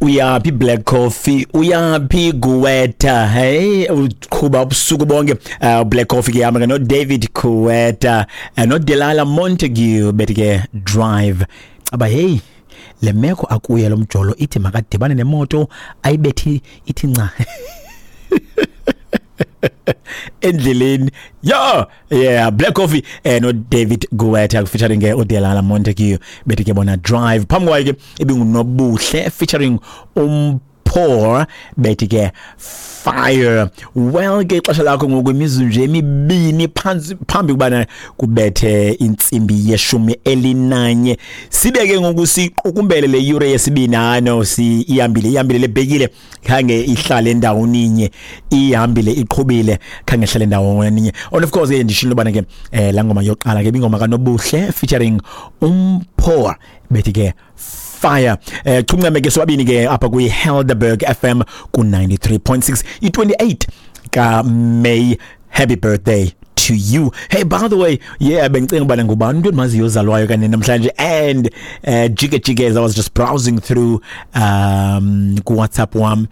Uyaphi Black Coffee, uyaphi Guetta? Hey, uqhuba ubusuku bonke. Black Coffee ke hamba no David Guetta, no Delilah Montague, bethi ke "Drive". Aba hey, le meko akuye lo mjolo ithi makadibane nemoto ayibethi ithi nca endleleni. Yeah, Black Coffee no David Guetta featuring ke uDelala Montague, bethi ke bona "Drive". Phambi kwayo ke ibinguNobuhle featuring Poor, bethi ke "Fire". Well ke, ixesha lakho ngoku imizuzu nje emibini phantsi phambi kubana kubethe intsimbi ye-11. Sibe ke ngoku siqukumbele le yure yesibini. Hayi, si ihambile, ihambile lebhekile, khange ihlale endawoninye, ihambile, iqhubile, khange ihlale endawoninye. And of course ke ndishilo bana ke la ngoma yoqala ke ingoma kaNobuhle featuring Umpoor, bethi ke "Fire". Chuncame ke sobabini ke apha kwi Helderberg FM ku 93.6, i28 ka May. Happy birthday to you. Hey, by the way, yeah, bengicinga ubana ngubani umuntu endimaziyo ozalwayo kanye namhlanje, and jike jike, as I was just browsing through ku WhatsApp wam,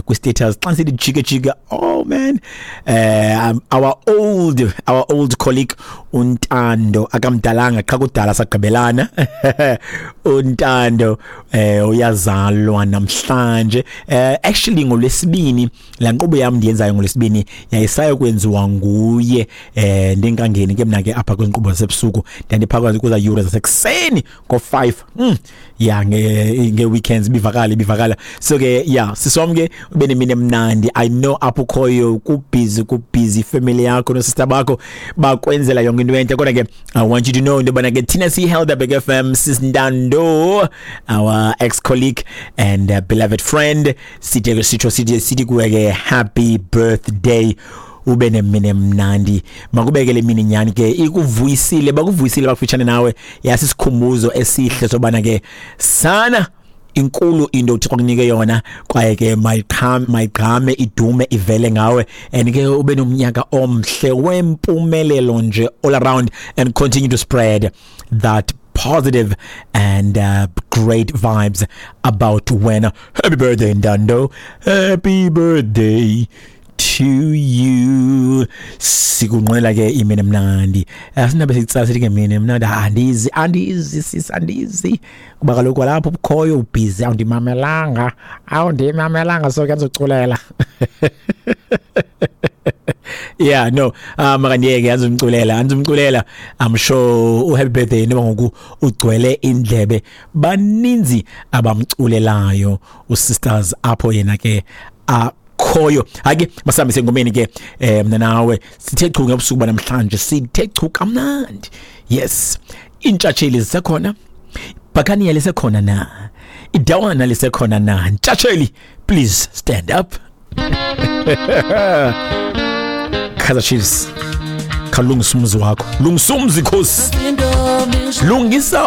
ku status, xa sithi jike jike, oh man, our old colleague uNtando, akamdalanga qha kudala sagqibelana, uNtando uyazalwa namhlanje. Actually ngolwesibini la nkqubo yam ndiyenzayo ngolwesibini yayisayo kwenziwa nguye. Ndingangeni ke mina ke apha kwinkqubo zasebusuku, ndandipha kuza yure zasekuseni ngo-5, ya, nge weekends bivakala bivakala. So ke yeah, sisonke ube nemini emnandi. I know apho ukhoyo kubusy, kubusy, family yakho no sister bakho bakwenzela yonke into entle, kodwa ke I want you to know into yobana ke thina siyi-Helderberg FM, sisintando, our ex colleague and beloved friend, sithi sitsho sithi kuwe ke happy birthday, ube nemini emnandi. Makubeke le mini nyani ke ikuvuyisile, bakuvuyisile bakufitshane nawe, yasisikhumbuzo esihle sobana ke sana inkulu into uThixo kunike yona, kwaye ke mayiqhame, idume, ivele ngawe, and ke ube nomnyaka omhle wempumelelo nje all around, and continue to spread that positive and great vibes about wena. Happy birthday, Ndando. Happy birthday to you. Sikunqwela ke imini emnandi. Asinabe sicala sithi ke mini emnandi, andizi, andizi sis, andizi, kuba kaloku lapho ukhoyo ubusy, awundimamelanga, awundimamelanga, so ke ndizoculela. Yeah, no, makandiyeke, andizumculela, andizumculela. I'm sure u happy birthday noba ngoku ugcwele indlebe, baninzi abamculelayo usisters apho yena ke akhoyo. Hayi ke, masihambise engomeni ke. Mna nawe sithe chu ngebusuku banamhlanje, sithe chu kamnandi. Yes, intshatsheli zisekhona, Bhakaniya lisekhona na, idawana lisekhona na? Ntshatsheli, please stand up. Kaizer Chiefs, khalungisa umzi wakho, lungisa umzi, khosi, lungisa.